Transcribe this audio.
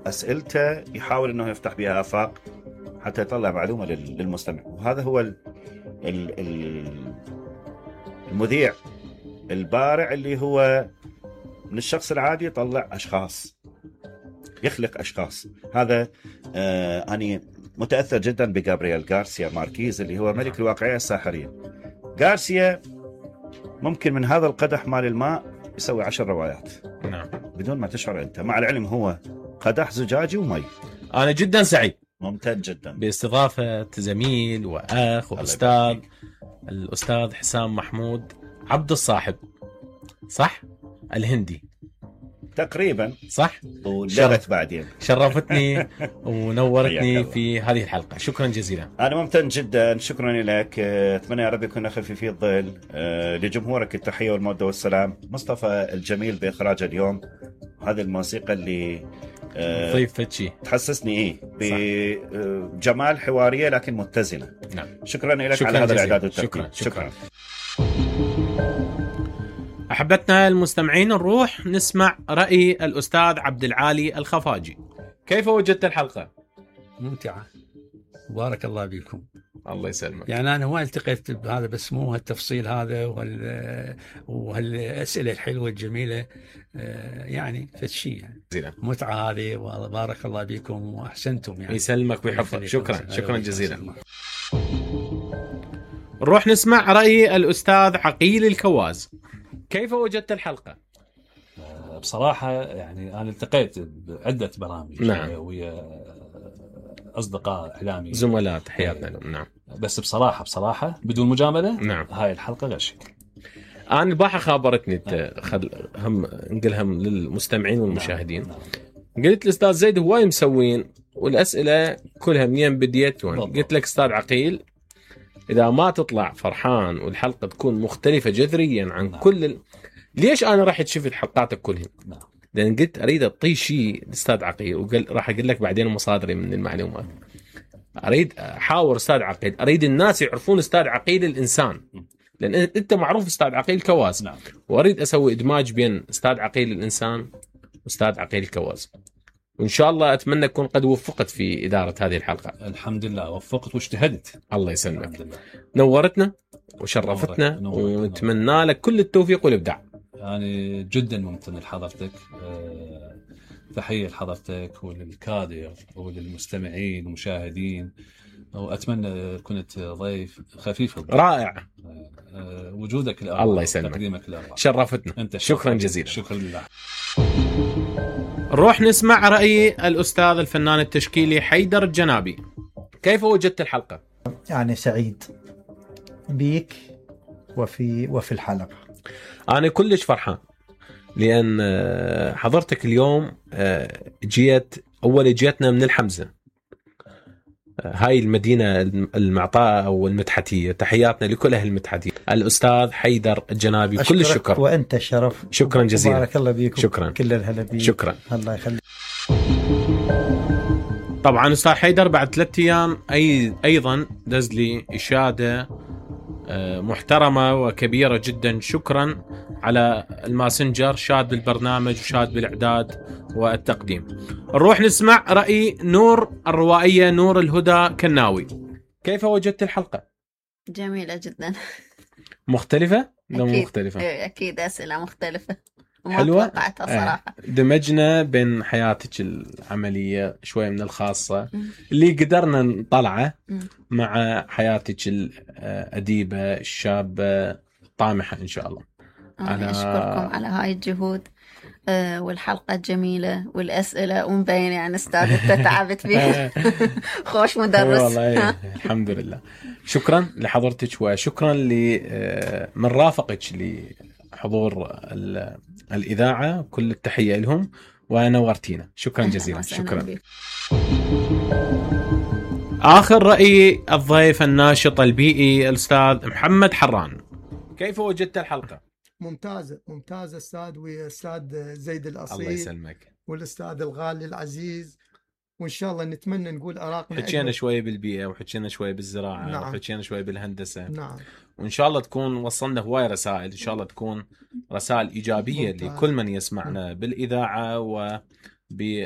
أسئلته يحاول أنه يفتح بها آفاق حتى يطلع معلومة للمستمع. وهذا هو المذيع البارع اللي هو من الشخص العادي يطلع أشخاص، يخلق أشخاص. هذا أنا متأثر جدا بغابرييل غارسيا ماركيز اللي هو ملك الواقعية الساحرية. غارسيا ممكن من هذا القدح مال الماء يسوي 10 روايات بدون ما تشعر أنت، مع العلم هو قدح زجاجي ومي. أنا جدا سعيد ممتن جدا باستضافة زميل وأخ وأستاذ الأستاذ حسام محمود عبد الصاحب، صح؟ الهندي تقريبا صح؟ ولغت بعدين. شرفتني ونورتني في هذه الحلقة، شكرا جزيلا. أنا ممتن جدا، شكرا لك. أتمنى يا رب يكون خفيف الظل. لجمهورك التحية والمودة والسلام. مصطفى الجميل بإخراج اليوم، هذه الموسيقى اللي ضيفت شيء تحسسني بجمال حوارية لكن متزنة. نعم. شكرا لك على هذا الإعداد والتقديم. شكرا. أحبتنا المستمعين، نروح نسمع رأي الأستاذ عبد العالي الخفاجي. كيف وجدت الحلقة؟ ممتعة، بارك الله بكم. الله يسلمك. يعني أنا ما التقيت بهذا، بس مو هالتفصيل هذا وهالأسئلة الحلوة الجميلة، يعني فشي يعني متعة هذه. وبارك الله بكم وأحسنتم يعني. يسلمك ويحفظك. شكرا جزيلا. نروح نسمع رأي الأستاذ عقيل الكواز. كيف وجدت الحلقة؟ بصراحة يعني أنا التقيت بعدة برامج ويا أصدقاء إعلامي زملاء، تحياتنا لهم. نعم. بس بصراحة بدون مجاملة هاي الحلقة غش. أنا البارحة خابرتني هم نقولها للمستمعين والمشاهدين. قلت الأستاذ زيد هواي مسوين والأسئلة كلها منين بديت وين. قلت لك أستاذ عقيل، إذا ما تطلع فرحان والحلقة تكون مختلفة جذريا عن كل ليش أنا راح شفت حلقاتك كلهم؟ لأن قلت أريد أعطي شيء أستاذ عقيل، وقال راح أقول لك بعدين مصادري من المعلومات. أريد أحاور أستاذ عقيل، أريد الناس يعرفون أستاذ عقيل الإنسان، لأن أنت معروف أستاذ عقيل كواز. وأريد أسوي إدماج بين أستاذ عقيل الإنسان وأستاذ عقيل الكواز. وإن شاء الله أتمنى أكون قد وفقت في إدارة هذه الحلقة. الحمد لله وفقت واجتهدت. الله يسلمك. نورتنا وشرفتنا ونتمنى لك كل التوفيق والإبداع. يعني جدا ممتن لحضرتك، تحية لحضرتك وللكادر وللمستمعين والمشاهدين، وأتمنى كنت ضيف خفيف رائع. وجودك الله يسلمك، تقديمك الأربع شرفتنا. أنت شكرا جزيلا. شكرا لله. نروح نسمع رأي الأستاذ الفنان التشكيلي حيدر الجنابي. كيف وجدت الحلقة؟ يعني سعيد بيك وفي الحلقة. أنا كلش فرحان لأن حضرتك اليوم جيتنا من الحمزة، هاي المدينة المعطاء أو المدحتية. تحياتنا لكل أهل المدحتية. الأستاذ حيدر الجنابي، كل الشكر. وأنت الشرف. شكرا جزيلا. بارك الله بيكم. شكرا. كل الهلا بيك. شكرا. الله يخليك. طبعا أستاذ حيدر بعد 3 أيام أيضا دز لي إشادة محترمة وكبيرة جدا. شكرا على الماسنجر، شاد بالبرنامج وشاد بالإعداد والتقديم. نروح نسمع رأي نور الروائية نور الهدى كناوي. كيف وجدت الحلقة؟ جميلة جدا. مختلفة؟ أكيد. مختلفة. أكيد أسئلة مختلفة حلوة. توقعتها صراحة. دمجنا بين حياتك العملية شوية من الخاصة اللي قدرنا نطلعه مع حياتك الأديبة الشابة الطامحة إن شاء الله. أنا أشكركم على هاي الجهود والحلقة الجميلة والأسئلة ومبين يعني أستاذ أنت تعبت فيها. خوش مدرس. والله الحمد لله. شكرا لحضرتك وشكرا من رافقك لحضور الإذاعة. كل التحية لهم ونورتينا. شكرا جزيلا. شكرا. آخر رأي الضيف الناشط البيئي الأستاذ محمد حران. كيف وجدت الحلقة؟ ممتازة أستاذ، وأستاذ زيد الأصيل. الله يسلمك. والأستاذ الغالي العزيز، وإن شاء الله نتمنى نقول آراءنا. حكينا شوية بالبيئة وحكينا شوية بالزراعة. نعم. وحكينا شوية بالهندسة. نعم. وإن شاء الله تكون وصلنا هواي رسائل، إن شاء الله تكون رسائل إيجابية لكل من يسمعنا بالإذاعة